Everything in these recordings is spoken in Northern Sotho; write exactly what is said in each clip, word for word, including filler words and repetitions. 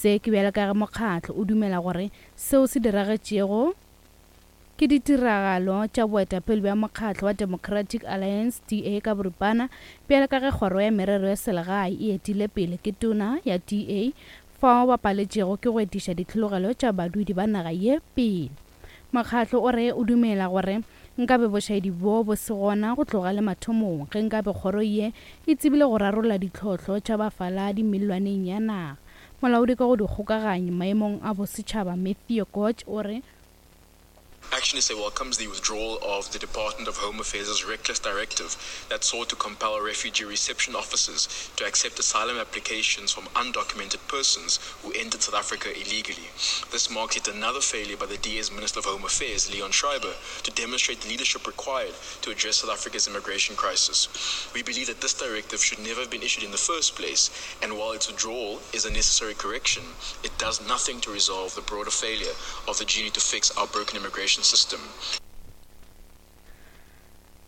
Se ke bjalo ka ge mokgatlo o dumela gore seo se diragetšego ke ditiragalo tša boetapele bja mokgatlo wa Democratic Alliance D A ka boripana, bjalo ka ge kgoro ya merero ya selegae e etile pele ke tona ya D A fao ba paletšego ke go etiša ditlhologelo tša badudi ba naga ye pele. Mokgatlo o re o dumela gore nkabe bošaedi bo bo se gona go tloga le mathomong ge nkabe kgoro ye e tsebile go rarolla ditlhohlo tša bafaladi mellwaneng ya naga. Molaodi ka go dikgokaganyo maemong a bosetšhaba Matthew Koch o re Action S A welcomes the withdrawal of the Department of Home Affairs' reckless directive that sought to compel refugee reception officers to accept asylum applications from undocumented persons who entered South Africa illegally. This marks yet another failure by the D A's Minister of Home Affairs, Leon Schreiber, to demonstrate the leadership required to address South Africa's immigration crisis. We believe that this directive should never have been issued in the first place, and while its withdrawal is a necessary correction, it does nothing to resolve the broader failure of the genie to fix our broken immigration system.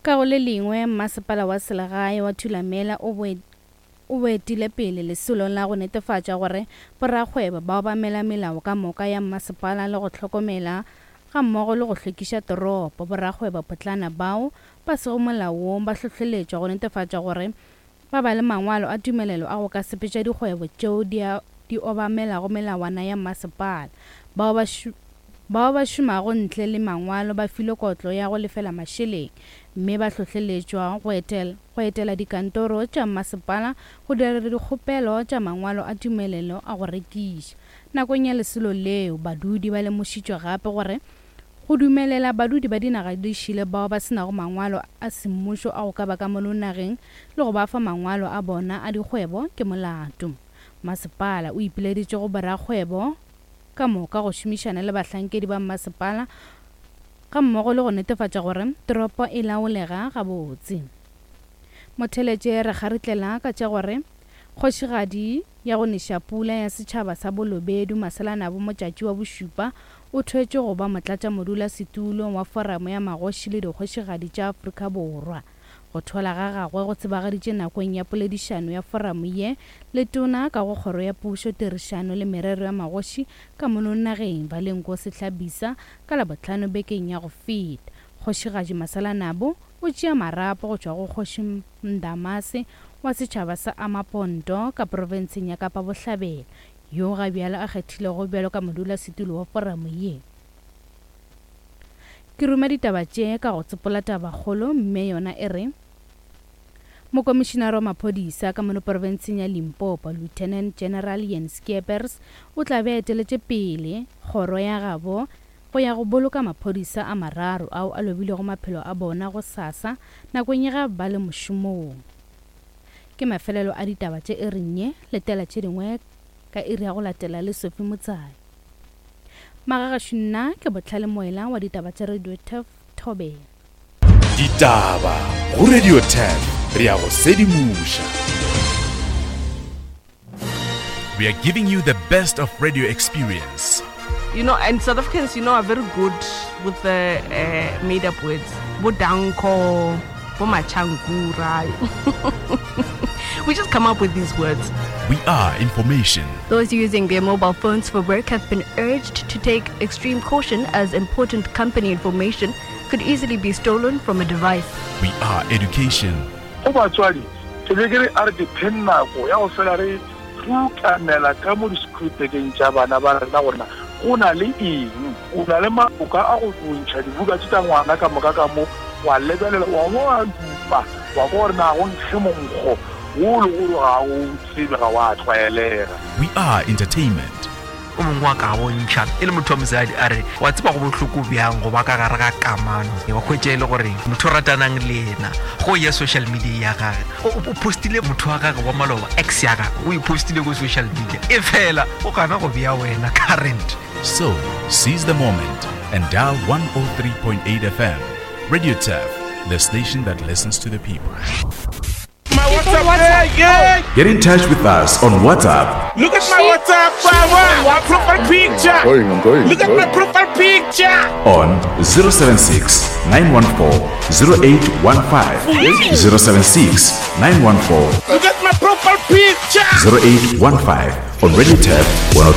Ka go le lengwe, masepala wa selegae wa Thulamela o boetile pele lesolong la go netefatša gore borakgwebo ba obamela melao ka moka ya masepala le go hlokomela ga mmogo le go hlwekiša toropo. Borakgwebo potlana bao ba sego molaong ba hlohleletšwa go netefatša gore ba ba le mangwalo a tumelelo a go ka sepetša dikgwebo tšeo di obamelago melawana ya masepala. Bao ba bao ba šomago ntle le mangwalo ba filwe kotlo ya go lefela mašeleng mme ba hlohleletšwa go etela go etela dikantoro tša masepala go dira dikgopelo tša mangwalo a tumelelo a go rekiša. Nakong ya lesolo leo, badudi ba lemošitšwe gape gore go dumelela badudi ba dinaga di šele bao ba senago mangwalo a semmušo a go ka ba ka mono nageng le go ba fa mangwalo a bona a dikgwebo ke molato. Masepala o ipileditše go borakgwebo ka moka go šomišana le bahlankedi ba masepala ga mmogo le go netefatša gore toropo e laolega gabotse. Motheletše re kgaritlela ka tša gore kgošigadi ya go neša pula ya setšhaba sa Bolobedu Masalanabo Motšatši wa bošupa o thwetšwe go ba motlatšamodulasetulo wa foramo ya magoši le dikgošigadi tša Afrika Borwa. Go thola ga gagwe go tsebagaditše nakong ya poledišano ya foramo ye le tona ka go kgoro ya pušo, tirišano le merero ya magoši ka mono nageng Valenko Sehlabisa ka Labohlano bekeng ya go feta. Kgošigadi Masalanabo o tšea marapo go tšwa go Kgoši Ndamase wa setšhaba sa Amapondo ka profenseng ya Kapa Bohlabela, yo ga bjalo a kgethilego bjalo ka modulasetulo wa foramo ye. Ke ruma ditaba tše ka go tsopola tabakgolo mme yona e re Mokomišinara wa maphodisa ka mono profenseng ya Limpopo, Lieutenant General Jens Skeepers, o tla be a eteletše pele kgoro ya gabo go ya go boloka maphodisa a mararo ao a lobilego maphelo a bona go sasa nakong ya ga ba le mošomong. Ke mafelelo a ditaba tše e reng letela tše dingwe ka iri ya go latela le Sophie Motsai. Magagašu nna ke Botlhale Moela wa ditaba tša Radio Turf Thobela. Ditaba go Radio Turf, re ya go sedimoša. We are giving you the best of radio experience. You know, and South Africans, you know, are very good with the uh, made-up words. Bodanko, Bomachankura. We just come up with these words. We are information. Those using their mobile phones for work have been urged to take extreme caution as important company information could easily be stolen from a device. We are education. Go batswadi, ke be ke re a re dipheng nako ya go fela re rukanela ka mo di-scriptekeng tša bana ba rena gorena go na le eng, o na le maboka a go bontšha dibuka tše tša ngwana ka moka ka mo, wa lebelela wa bo wa dupa wa kwa gore na go nkge monkgo wo le gore ga o tsebe ga wa tlwaelega. We are entertainment. O mongwe wa ka bontšha e le motho wa mosadi a re wa tseba go bohloko bjang go ba ka gare ga kamano, wa hwetša e le gore motho o ratanang le yena go ya social media ya gage o postile motho wa gage wa maloba, ex ya gage o e postile go social media, e fela o gana go bea wena current. So seize the moment and dial one oh three point eight F M. Radio Turf, the station that listens to the people. My WhatsApp, WhatsApp. Yeah. Get in touch with us on WhatsApp. Look at my WhatsApp, my profile picture. I'm going, I'm going, Look I'm at going. my profile picture. On zero seven six, nine one four, zero eight one five. zero seven six, nine one four. Look at my profile picture. zero eight one five on Radio Turf one oh